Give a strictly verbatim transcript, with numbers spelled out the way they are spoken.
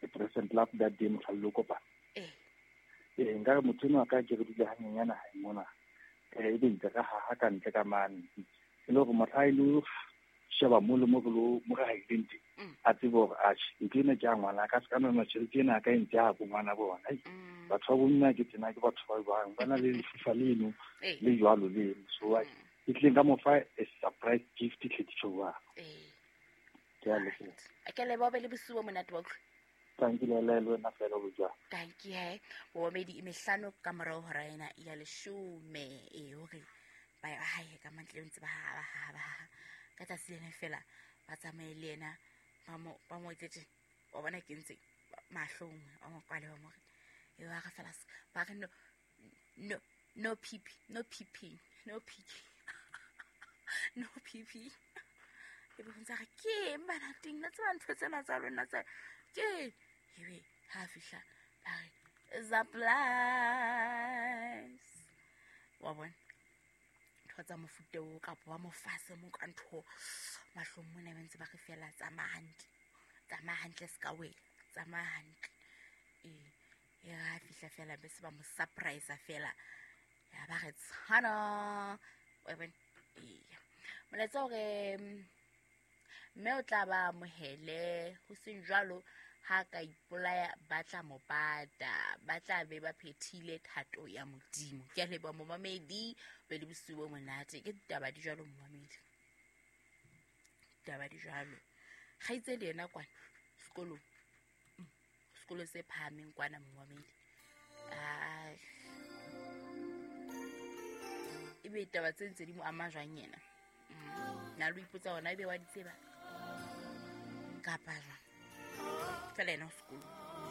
The present love that day mohla le kopana. Eh. Eh nka re motho enwa ka ke re dule hanyenyana hae mona. Eh ebe ntse ka haha ka ntle ka mane. E le hore mohla e lo sheba mo le mo re lo mo re haileng teng. Mm. A tsebe hore atjhe ntho ena ke ya ngwana ka se ka nona tjhelete ena ka e ntse ya bo ngwana bona. Ai, Mm. batho ba bomme ke tsena ke batho ba jwang ba na le lefufa leno Eh. le jwalo leno. So ai Mm. ke tlile nka mo fa a surprise gift tlhe jwang. Eh. Ke a leboha. Ke a leboha, o be le bosiu bo monate wa utlwa. Thank you le le wena fela bo jwang. Thank you he. Bomedi e mehlano ka morao hora ena ya leshome. Eh hore ba ya hae ka mantle ntse ba ha ba ha ba ha. Ka tsatsi lena fela ba tsamaye le yena ba mo ba mo etsetse. Wa bona ke ntse mahlong ba mo kwale ba mo re. E ba re fela se- ba re no no no pipi no pipi no pipi no pipi. E be ho ntse a re ke eng bana teng la tseba ntho tsena tsa lona tsa ke ebe ha fihla ba re surprise wa bona ntho tsa mofuta oo kapa ba mo fase mo ka ntho mahlong mona ba ntse ba re fela tsamaya hantle tsamaya hantle se ka wela tsamaya hantle ee e re ha fihla fela be se ba mo surprise fela ya ba re tshwana wa bona ee molaetsa hore mm, mme o tla ba amohele ho seng jwalo ha ka ipolaya ba tla mo pata ba tla be ba phethile thato ya Modimo. Ke a leboha momamedi be le bosiu bo monate. Ke ditaba di jwalo momamedi, ditaba di jwalo. Kgaitsedi yena kwana sekolong, mm, sekolo se phahameng kwana momamedi. Ai, ebe ditaba tse ntse di mo ama jwang yena? Mm, na lo ipotsa hona ebe wa di tseba kapa jwang? Fela yena o sekolong.